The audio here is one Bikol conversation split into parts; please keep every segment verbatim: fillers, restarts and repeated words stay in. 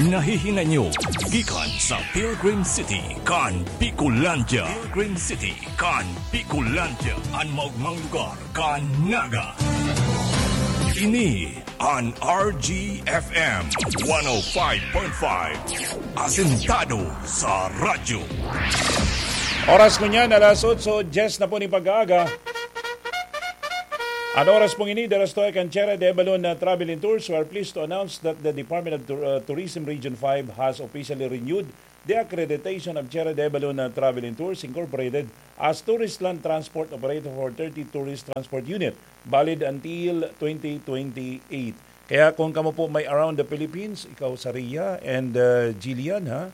Nahihinay nyo gikan sa Pilgrim City kan Bicolandia. Pilgrim City kan Bicolandia, an maogmang lugar kan Naga. Ini an R G F M one oh five point five, asentado sa radyo. Oras ko niyan, alas otso diyes na po ni pag-aaga. An oras pong ini, dalas to kan Tierra de Abalon na Travel and Tours. We are pleased to announce that the Department of Tur- uh, Tourism Region five has officially renewed the accreditation of Tierra de Abalon na Travel and Tours Incorporated as Tourist Land Transport Operator for thirty Tourist Transport Unit, valid until twenty twenty-eight. Kaya kung kamo po may around the Philippines, ikaw, Saria and uh, Jillian, ha?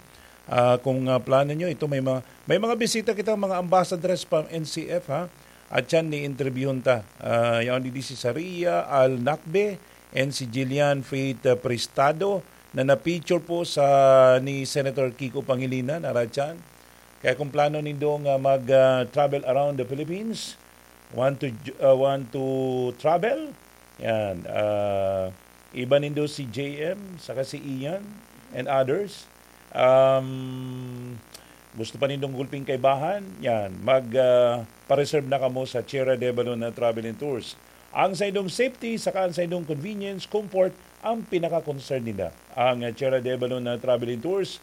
Ah, kung uh, plano nyo, ito may mga, may mga bisita kita, mga ambassadors pa N C F, ha? At yan, ni-interviewon ta. Ah, yan, di si Saria Al Nakbe and si Jillian Faith uh, Prestado na na-feature po sa ni Senator Kiko Pangilinan, aratyan. Kaya kung plano nindong uh, mag-travel around the Philippines, want to uh, want to travel, yan. Uh, iba nindo si J M, saka si Ian, and others. Um, gusto pa nindong gulping kaibahan, yan. Mag uh, pa-reserve na kamo sa Tierra de Balon na Travel and Tours. Ang saindong safety, saka ang saindong convenience, comfort, ang pinaka-concern nila. Ang uh, Tierra de Balon na Travel and Tours,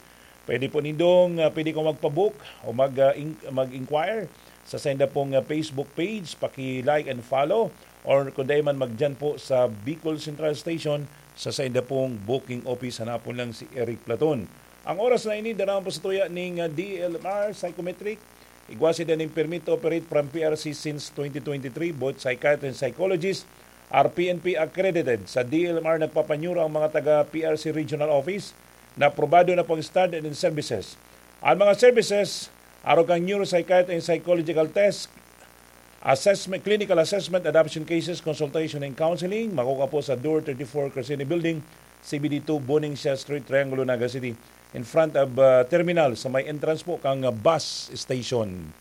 pwede po nindong, uh, pwede kong magpabook o mag, uh, in- mag-inquire sa sainda pong uh, Facebook page, paki-like and follow, or kung dai man, magdiyan po sa Bicol Central Station sa sainda pong booking office, hanapon lang si Eric Platon. Ang oras na ini, daraon po sa tuya ning uh, D L M R Psychometric. Igwa sinda ning permit to operate from P R C since twenty twenty-three, both psychiatrist and psychologist are P N P accredited. Sa D L M R nagpapanyura ang mga taga P R C Regional Office na aprobado na pong standard and services. Ang mga services, arog kang neuropsychiatric and psychological test, assessment, clinical assessment, adoption cases, consultation and counseling, makukuha po sa Door thirty-four, Crescene Building, C B D two, Buning Siya Street, Triangulo, Naga City, in front of uh, terminal sa may entrance po kang uh, bus station.